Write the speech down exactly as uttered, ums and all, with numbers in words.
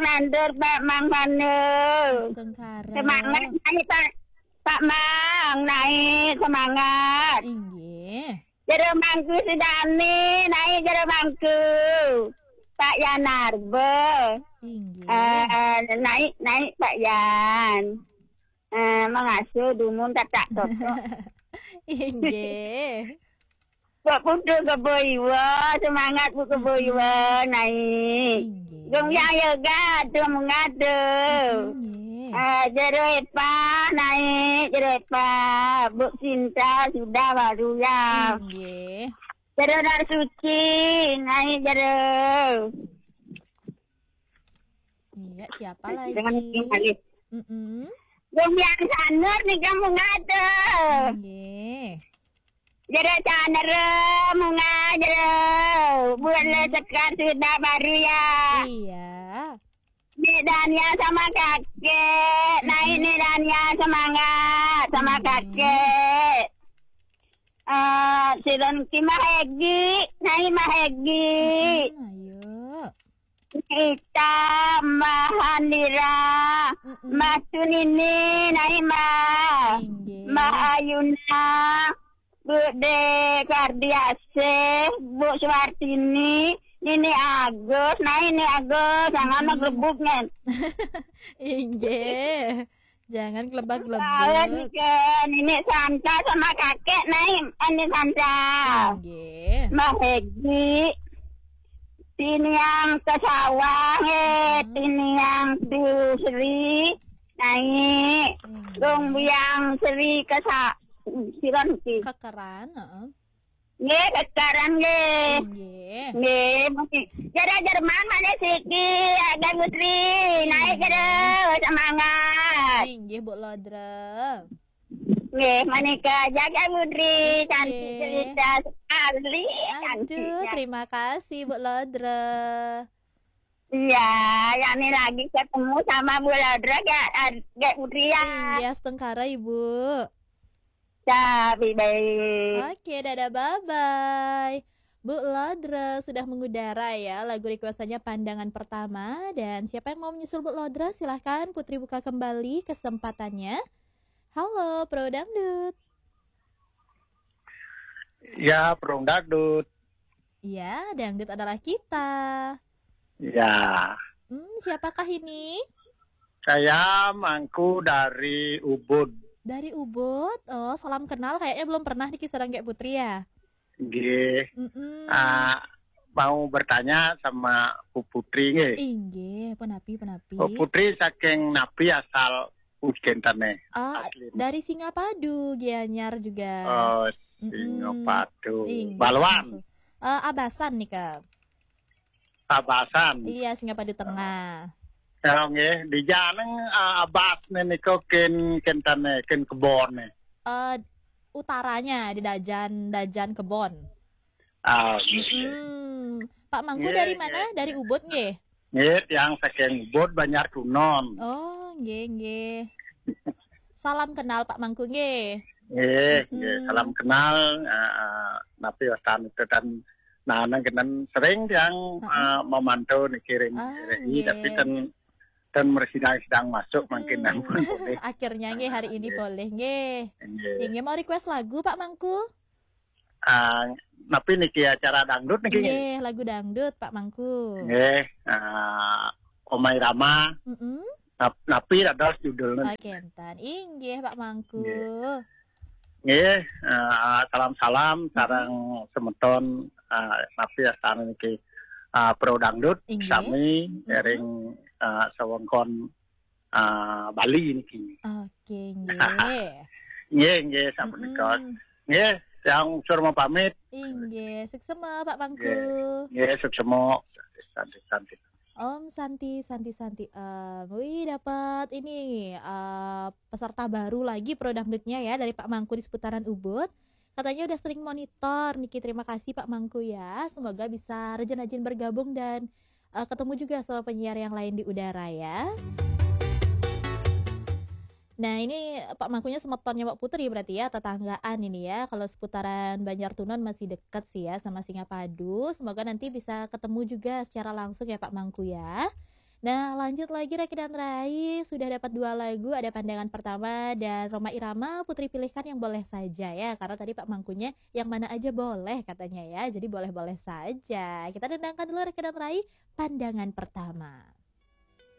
nandur, Pak Mang Manu. Astungkara. Semangat naik, Pak. Pak Mang, naik, semangat. Inggih. Jero Mangku Sudani, naik Jero Mangku. Pak Yan Arbe. Inggih. Eh, naik, naik Pak Yan. Eh, mengasuh dumun tak tak toto. Inggih. Pak Putu Kebo Iwa, semangat Bu Kebo Iwa, naik. Inggih. Gung Yang Yoga, aduh mengadu. Inggih. Eh, Jero Epa, naik Jero Epa. Bu Cinta sudah baru ya. Inggih. Jero Dar Suci, naik Jero. Iya, siapa lagi? Dengan lagi. Mm-mm. Gung Yang Sanur nih kamu ngadu. Inggih. Jero Sanur, mengadu. Bulan Sekar sudah baru ya. Iya. Nek Dania sama kakek, naik Nek Dania, semangat sama kakek. Eh, si Ronki mah Hegi, naik mah Hegi. Hmm, ayo. Ita, Mbah Handira, Mbah Tunini, naik Mbah. Inggih. Mbah Ayuna, Bu De Kardiasih, Bu Suwartini, Nini Agus, nah Nini Agus, jangan ngerebuk, Nen. Inggih. Jangan kelebak-kelebuk. Nini Santa sama kakek, nah Nini Santa. Inggih. Mbah Hegi, tiniang ke sawah, eh, tiniang di Sri, naik. Inggih. Rung biang Sri ke sa-, siron ki. Kekeran, heeh. Nggih, kekeran nggih. Nggih. Nggih, mesti. Jero Jerman mana siki, ada Putri, naik jero, semangat. Inggih, Bu Lodra. Nggih, menika jaga Putri, cantik cerita sekali, cantiknya. Aduh, terima kasih Bu Lodra. Iya, yang ini lagi ketemu sama Bu Lodra, gak, gak Putri ya. Iya, setengkara Ibu. Tapi baik. Oke, dadah, bye-bye. Bu Lodra sudah mengudara ya, lagu requestannya Pandangan Pertama. Dan siapa yang mau menyusul Bu Lodra, silahkan Putri buka kembali kesempatannya. Halo, Pro Dangdut. Ya, Pro Dangdut. Ya, dangdut adalah kita. Ya. Hmm, siapakah ini? Saya Mangku dari Ubud. Dari Ubud? Oh, salam kenal. Kayaknya belum pernah niki sareng Gek Putri ya? Nggih. Mm-mm. Ah, mau bertanya sama Bu Putri nggih. Inggih, penapi, penapi. Bu Putri saking napi asal Ujentane? Ah, asli. Dari Singapadu, Gianyar juga. Oh, mm-mm. Singapadu. Inggih. Baluan. Eh, Abasan nika. Abasan. Iya, Singapadu Tengah. Ya, nggih, di Janeng, eh, Abas nika ken kentane, ken kebone. Eh, utaranya di Dajan, Dajan Kebon. Ah, nggih. Mm-mm. Pak Mangku dari mana? Nggih. Dari Ubud nggih? Nggih, tiang saking Ubud, Banjar Tunon. Oh, nggih, nggih. Salam kenal Pak Mangku nggih. Nggih, nggih, salam kenal, eh, eh, napi wastan itu kan, nah, nang kenen sering tiang, eh, memantau niki ring R R I, tapi ten, ten mersidang sidang masuk mungkin ampun boleh. Akhirnya nggih hari ini boleh nggih. Nggih. Nggih, mau request lagu Pak Mangku? Ah, napi niki acara dangdut niki? Nggih, lagu dangdut Pak Mangku. Nggih, ah, Omai Rama. Mm-mm. Nap-, napi dados judulnya? Oh, kenten. Inggih, Pak Mangku. Nggih. Nggih, eh, salam-salam sareng semeton, eh, napi astana niki, eh, Pro Dangdut, inggih, sami, mm-mm, ring, eh, sewengkon, eh, Bali niki. Oke, nggih. Nggih, nggih, sapunika. Mm-mm. Nggih, yang sur mau pamit. Inggih, suksema Pak Mangku. Nggih, nggih, suksema. Santi, santi. Om Santi, Santi, Santi Om. Wih, dapat ini, eh, peserta baru lagi Pro Dangdutnya ya, dari Pak Mangku di seputaran Ubud. Katanya udah sering monitor niki. Terima kasih Pak Mangku ya. Semoga bisa rajin-rajin bergabung dan, eh, ketemu juga sama penyiar yang lain di udara ya. Nah, ini Pak Mangkunya semetonnya Mbak Putri berarti ya, tetanggaan ini ya. Kalau seputaran Banjar Tunon masih deket sih ya sama Singapadu. Semoga nanti bisa ketemu juga secara langsung ya Pak Mangku ya. Nah, lanjut lagi Reki dan Rai, sudah dapat dua lagu, ada Pandangan Pertama dan Rhoma Irama. Putri pilihkan yang boleh saja ya, karena tadi Pak Mangkunya yang mana aja boleh katanya ya, jadi boleh-boleh saja. Kita dendangkan dulu Reki dan Rai, Pandangan Pertama.